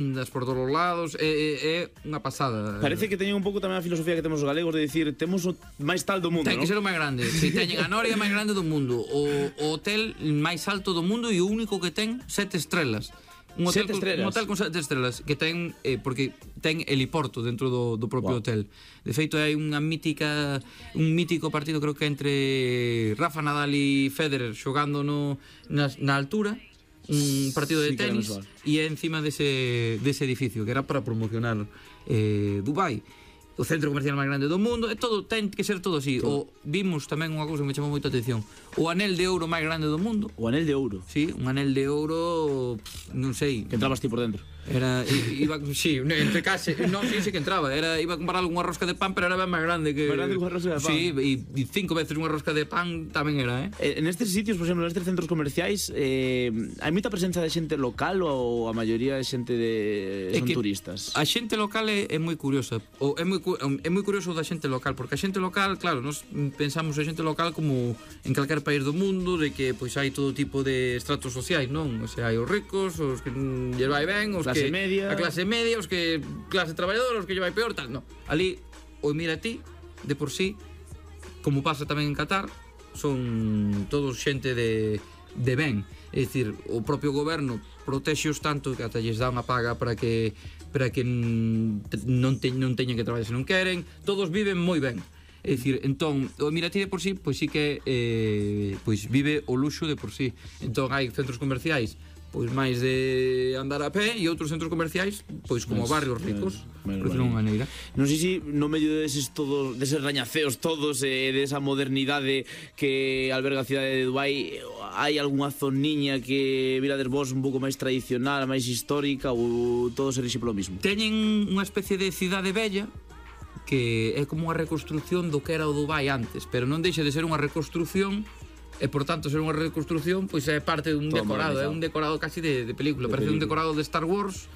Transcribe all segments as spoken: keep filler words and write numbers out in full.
das por todos os lados, é, é, é unha pasada. Parece que teñen un pouco tamén a filosofía que temos os galegos de dicir, temos o máis tal do mundo, Ten non? que ser o máis grande. Si teñen a noria máis grande do mundo, o, o hotel máis alto do mundo e o único que ten sete estrelas. Un hotel, Sete estrelas? Un hotel con sete estrelas que ten, eh, porque ten heliporto dentro do, do propio wow. hotel. De feito hai unha mítica un mítico partido, creo que entre Rafa Nadal e Federer xogando no, na, na altura, un partido de sí, tenis e é encima dese, dese edificio que era para promocionar eh, Dubai, o centro comercial máis grande do mundo, e todo ten que ser todo así. Todo. O vimos tamén unha cousa que me chamou moita atención, o anel de ouro máis grande do mundo. O anel de ouro? Sí, un anel de ouro, pff, non sei, que entrabas ti por dentro. Era, iba, sí, entre case, no, sí, sí que entraba, era, iba a comprar unha rosca de pan, pero era ben máis grande que... Máis grande que unha rosca de pan? Sí, e, e cinco veces unha rosca de pan tamén era, eh? En estes sitios, por exemplo, nestes centros comerciais, eh, hai moita presenza de xente local ou a maioría é xente de... son turistas? A xente local é, é moi curiosa, ou é moi, é moi curioso da xente local, porque a xente local, claro, nos pensamos a xente local como en calquer país do mundo, de que pois hai todo tipo de estratos sociais, non? O sea, hai os ricos, os que lle vai ben, os clase que media. A clase media, os que clase traballadora, os que lle vai peor, tal, no. Ali o mira ti, de por sí, como pasa tamén en Qatar, son todos xente de de ben, é dicir, o propio goberno protexeos tanto que ata lles dá unha paga para que para que non te, non teñan que traballar se non queren, todos viven moi ben. É dicir, entón, o Emirati de por sí, pois sí que eh, pois vive o luxo de por sí. Entón hai centros comerciais pois máis de andar a pé e outros centros comerciais pois como mas, barrios ricos, mas, por decirlo unha maneira. Non sei se no medio deses todos, deses rañaceos todos e eh, desa modernidade que alberga a cidade de Dubai, hai algunha zoniña que virades vos un pouco máis tradicional, máis histórica, ou todo se rixe polo mismo? Teñen unha especie de cidade bella que é como unha reconstrucción do que era o Dubai antes, pero non deixa de ser unha reconstrucción. E por tanto ser unha reconstrucción pois é parte dun todo decorado, é un decorado casi de, de película, de parece película. Un decorado de Star Wars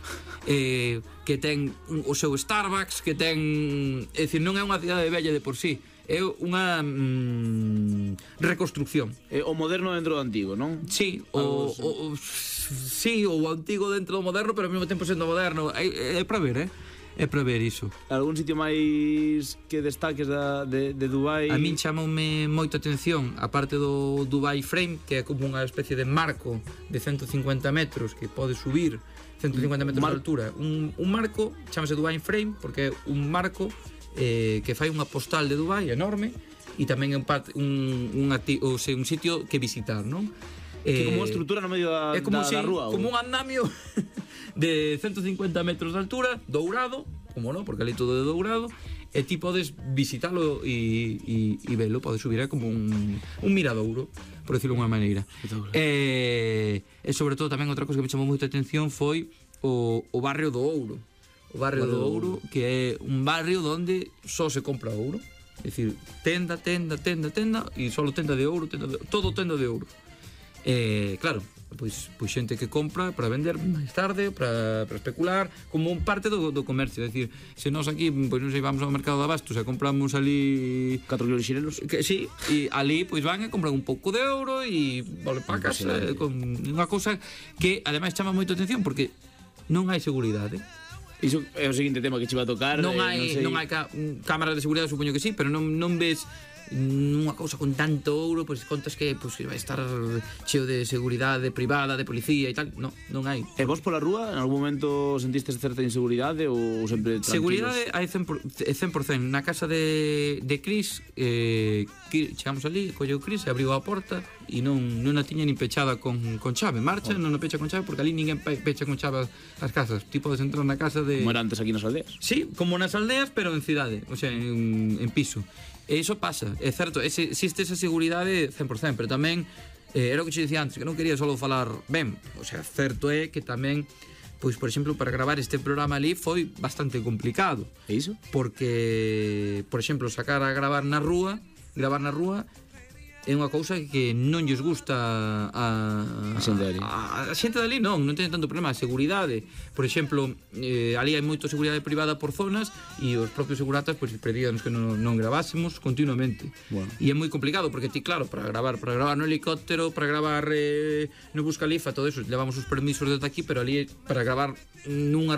eh, que ten un, o seu Starbucks, que ten, é dicir, non é unha cidade bella de por sí, é unha mm, reconstrucción. É o moderno dentro do antigo, non? Sí, o, o, o sí, o antigo dentro do moderno, pero ao mesmo tempo sendo moderno, é, é para ver, eh? É para ver iso. Algún sitio máis que destaques da, de, de Dubai? A min chamoume moita atención a parte do Dubai Frame, que é como unha especie de marco de ciento cincuenta metros que pode subir ciento cincuenta metros de altura. Un, un marco, chamase Dubai Frame, porque é un marco eh, que fai unha postal de Dubai enorme e tamén é un, un, un, o sea, un sitio que visitar, non? Que eh, como unha estrutura no medio da, é como da, si, da rúa? Como un andamio de ciento cincuenta metros de altura, dourado, como non, porque ali todo é dourado, e ti podes visitalo e, e, e velo, podes subir, é como un, un miradouro, por decirlo unha maneira. E, e sobre todo tamén outra cosa que me chamou moita atención foi o, o barrio do ouro. O barrio do ouro, que é un barrio onde só se compra ouro, é dicir, tenda, tenda, tenda, tenda, e só tenda de ouro, tenda de, todo tenda de ouro. Eh, claro, pois, pois xente que compra para vender máis tarde, para, para especular, como un parte do, do comercio. É dicir, se nós aquí, pois non sei, vamos ao mercado de abastos e compramos ali catro kilos de xinelos, que, sí, e ali pois van e compran un pouco de euro e vale para casa, eh, con unha cousa que ademais chama moito atención porque non hai seguridade. Iso é o seguinte tema que che va a tocar. Non eh, hai, non, sei... non hai ca cámaras de seguridade, supoño que sí, pero non, non ves unha cousa con tanto ouro, pois contas que pois, vai estar cheo de seguridade privada, de policía e tal. Non, non hai. E vos pola rúa, en algún momento sentistes certa inseguridade ou sempre tranquilos? Seguridade hai cen por cento. Na casa de, de Cris, eh, chegamos ali, colleu Cris e abriu a porta e non, non a tiña nin pechada con, con chave. Marcha, oh. non a pecha con chave, porque ali ninguén pecha con chave as casas. Ti podes entrar na casa de... Como era antes aquí nas aldeas? Sí, como nas aldeas, pero en cidade, o sea, en, en piso. E iso pasa, é certo, existe esa seguridade cen por cento, pero tamén eh, era o que che dicía antes, que non quería só falar ben, o sea, certo é que tamén, pois, por exemplo, para gravar este programa ali foi bastante complicado. E iso? Porque, por exemplo, sacar a gravar na rúa, gravar na rúa, é unha cousa que non lles gusta a, A xente dali. a, a xente dali non, non ten tanto problema. A seguridade, por exemplo, eh, ali hai moita seguridade privada por zonas e os propios seguratas pois, pedíanos que non, non gravásemos continuamente. Bueno. E é moi complicado porque ti, claro, para gravar para gravar no helicóptero, para gravar eh, no Burj Khalifa, todo eso, levamos os permisos desde aquí, pero ali para gravar nunha